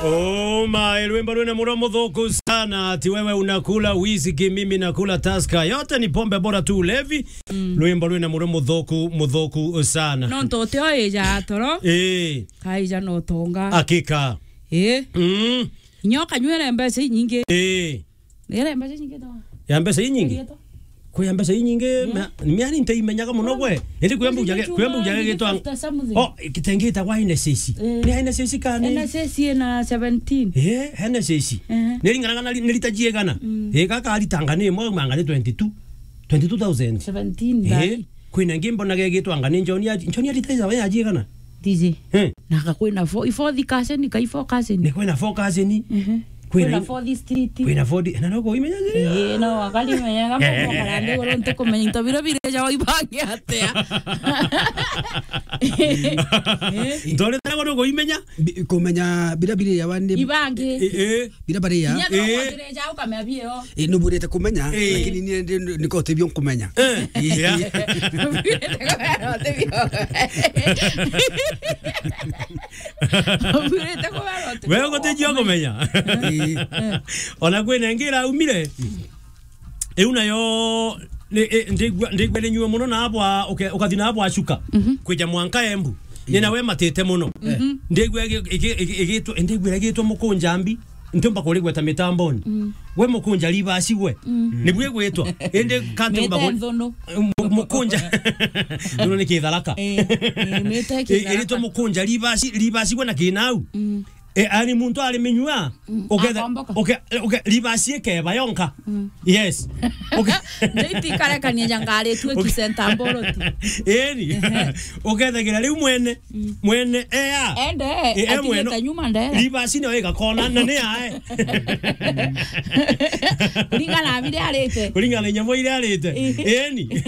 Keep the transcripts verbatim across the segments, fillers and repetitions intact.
Oh my, rwimbo rwina muro muthuku sana, ati wewe unakula whisky, mimi nakula Tusker. Yote ni pombe bora tu ulevi. Mm. Rwimbo rwina muro muthuku, muthuku sana. No ntote o ija toro. Eh. Kaija no tonga. Hakika. Eh. Mm. Nyoka nywere mbeca inyingi. Eh. Nere mbeca inyingi to. Ya mbeca inyingi? Kwi ya mbeca inyingi, yeah. Mia-, miani nteimenyaga muno gwe. Indi kwemba ujage, kwemba ujage gitwa. Oh, kitengi itagwa N S S. Eh. Ni N S S kani? N S S ina seventeen. Eh, N S S. Eh. Niringanaga na ri-, ni rita jiegana. Mm. Eh, gaka aritanga ni mwe manga ni twenty-two. Twenty-two thousand. Seventeen. Eh, ndai. Kwina ingi mbonaga igitwa anga ni Njoni ya, Njoni ya rita ya, ya jiegana. D J. Eh. Na ka kwina four, i fourth cousin, ka i four cousin. Ni kwina four cousin. Mhm. Kwina fourth street. Kwina fourth, na no kuimenya. Eh, no, akali menya, kama kwa karande, goro ntukumenya, into biro bire ja waibange atia. Eh? Ndore tena goro kuimenya. Bi-, kumenya bira bire ya wani. Ibange. Eh, eh. Bira bari ya. Inya no kwatire ja ukamea bio. Eh, nuburite kumenya, eh, lakini ni, ni, niko tibio kumenya. Eh, yeah. Nuburite kumenya, tibio. Nuburite kumenya, tibio. Wewe gutijua kumenya. Eh. Ona kwina ingi iraumire. Iu nayo ni, i, ndigua, ndigua ni nyua muno na abwa, uke-, ukathi na abwa shuka. Mhm. Kwija mwanka Embu. Ni nawe matite muno. Mhm. Ndigua igi-, igi-, igi-, igitwa, ndigua igitwa mukunja mbi. Ntiumba kurigweta mitamboni. Mm. We mukunja ribasi gwe. Mm. Nibwe gwitwa. Indi kantiumba ku-, mu-, mukunja. Nduno ni kitharaka. Eh, eh, mite kitharaka. Iritwa mukunja ribasi, ribasi gwe na kinau. Mm. E, ani muntu ari minyua, mm, uketha, akomboka. Uke-, uke-, ribasi ikeba yonka. Mm. Yes. Uke- Ndio itikarekania ja ngari tu, uke- kisenta mboroti. Eni. Ehe. Ukethagira riu mwene, mm, mwene, ea. Ende, e, e, atigite mwene nyuma ndera. Ribasi niyo igakona, na ni ae. Kuringana na bire arite. Kuringana na inyamo iria arite. Ehe. Eni.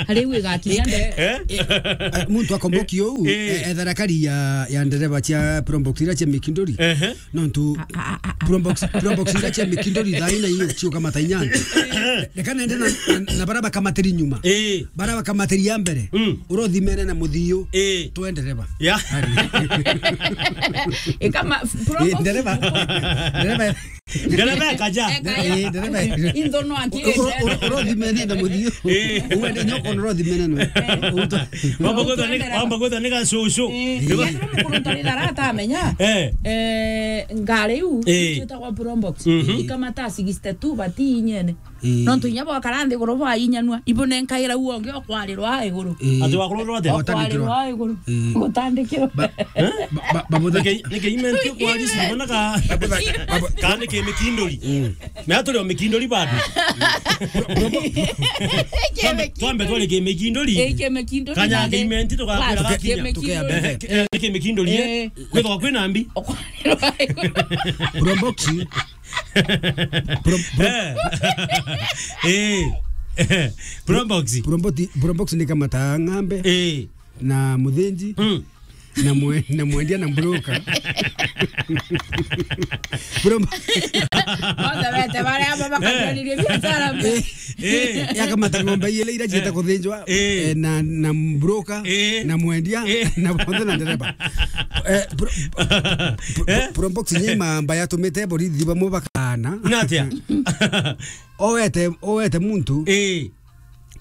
Riu igakinya ndera. Eh? Eh, muntu akomboki uu, eh, eh, ethera kari ya, ya ndereba cia Probox iria cia Mikindori. Ehe. Nontu a, a, a, a. Probox, Probox iria cia Mikindori thaa ina iyo ciuka matainyani. Reka nende na, na, na bara bakamatiri nyuma. Eh. Bara bakamatiri ya mbere. Mm. Urothimene na muthiu. Eh. Twe ndereba. Ya. Ari. Ikama, eh, Probox. Ndereba. Ndereba. Ndereba ekaja. Ekaja. Eh, ndereba. Intho no aki. U-, u-, u-, urothimene na muthiu. Eh. Uende nyoko urothimene no. Eh. Uto- Wamba gwetha ni, wamba gwetha ni gacucu. Eh. Ndio. Mukuru tari dara atamenya. Eh. Eh, ngari u, eh, ciitagwa Probox. Mhm. Ikamata sixty-two bati inyene. Eh. Nontu inya bwakara nthiguru bwainyanua, ibunenkaira u ongi okwarirwa iguru. Eh. Ati wakururwa atia? Okwarirwa iguru. Eh. Gutandikirwa. Ba-, eh? Ba-, ba-, babutha- Nike-, nike imenti okwari sibona ka-, babutha-, babu- ka ni kimikindori. Mm. Na turi o mikindori bado. Twambe, twambe twari kimikindori. Eh, kimikindori. Kanya nande. Kimenti tukakwira bas, gakinya. Kimikindori. Tukeambe. Eh, eh, kimikindori, eh. Eh. Kwithwa kwina mbi. Okwarirwa iguru. Probox. Pro-, pro-, eh. Eh. Probox. Probox, Probox ni kamata ng'ambe. Eh. Na muthinji. Mm. Na mwe-, na mwendia na broker. Pro- Bonthe bete baria abo bakajanirie biashara mbe. Eh. Eh. Yakamata ng'ombe ile ira cieta kuthinjwa, eh, eh, na, na broker, eh, na mwendia, eh, na bonthe na ndereba. Eh, pro-, pro-, eh? Probox nyima mba yatumite borithi bamwe bakana. Na atia? Owete, owete muntu. Eh.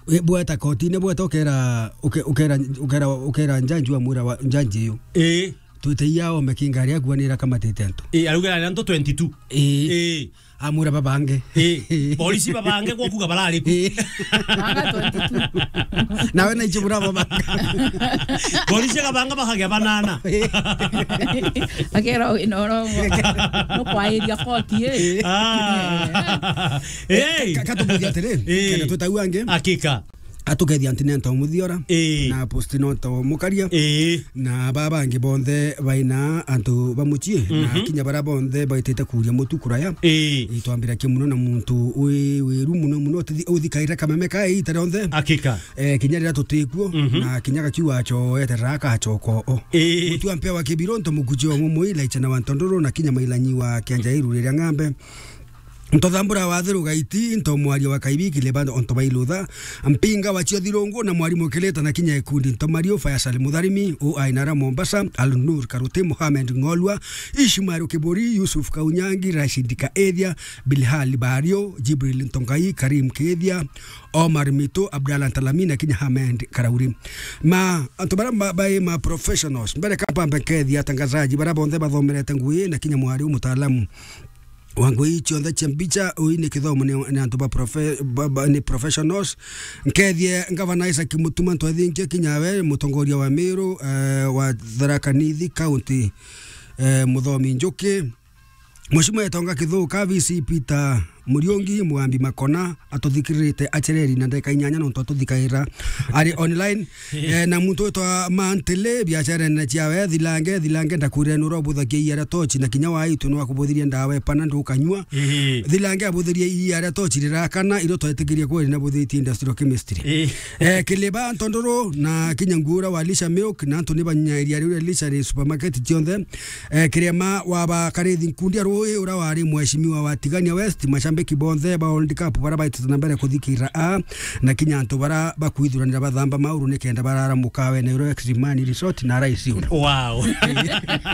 We, bweta kotine, bweta ukera, uke-, ukera, ukera, ukera njanji wa mwira wa njanji iyo. Eh. Twite iya ome kingari akuanira kamatite antu. Eh, arugera antu twenty-two. Eh. Eh. Amwira babange. Eh, polisi babange gwa kuga barari ku. Eh. Banga twenty-two. Nawe na icio bura babanga. Polisi akabanga bakagia banana. Eh. Akera wina urongo. No kwairia koti, eh. Ah. Eh, hey. Ka-, ka-, katubuthia atiri, eh, kenda twitau angi. Hakika. Atukethia anti nento muthiora. Eh. Na posti nonto mukaria. Eh. Na baba bangi bonthe baina antu ba mucii, na, mhm, kinya bara bonthe baitite kuria mutu kuraya. Ii. Itwambira ki muno na muntu wi wiru muno muno, uthi-, uthikaire kameme ka iita rionthe. Hakika. Eh, kinya riria tutikuo, mhm, na kinya gakiuga acoete raka acoko o. Ii. Mutu ampea wa kibiro nto mukuji wa mumui, laicha na wa ntondoro, na kinya mailanyi wa kianja iru riria ng'ambe. Ntothambura wa Thiru Gaiti, nto mwaria wa Kaibi Kileba, onto bailutha. Mpinga wa Cio Thirungu na mwarimu Kileta na kinya ikundi nto Mario Faisal Mutharimi, u ainara Mombasa, Al-Nur Karuti, Mohamed Ng'olwa, Ishmael Kiburi, Yusuf Kaunyangi, Rashid Kaethia, Bilhal Bario, Jibril Ntongai, Karim Kethia, Omar Mito, Abdallah Ntalami na kinya Hamed Karauri. Ma, antu bara ma, bai ma professionals, mbere kamba mbekethia atangazaji bara bonthe bathomerete ngui na kinya mwari u mutaalamu wa ngui cionthe cia mbicha, ui ni kithomo ni, ni antu ba profe-, ba, ba, ni professionals. Nkethie Ngavana Isaac Mutuma, ntwethinkie kinya we, mutongoria wa Meru, eh, wa Tharaka Nithi County, eh, Muthomi Njuki. Mheshimiwa Etonga Kithuka, V C Peter Muriungi, Mugambi Makona, atuthikiririte acereri na ndeka inyanya nontu atuthikaira ari online. Eh, na muntu witwa Mantele, biacarene ciawe, thilange, thilange, ndakwire nura ubuthagia iara tochi na kinya waitu nwa kubuthiria ndawa epana ndukanyua. Ii. Thilange abuthirie iara tochi rirakana, iro twetikirie kweri na buthitie industrial chemistry. Ii. Eh, Kiliba, Ntondoro, na kinya nguura wa Lisha Milk, na antu ni banyairia riu ria Lisha ri supermarket cionthe. Eh, Kiriama wa bakarithi nkundi ya Rui, ura wari mheshimiwa wa Tigania West, mashambiki bonthe ba World Cup bara baitite na mbere kuthikira a, na kinya antu bara bakwithuranira bathamba mauru nikenda barara mukawe na iro Extreme Resort na Rais Inn. Wow.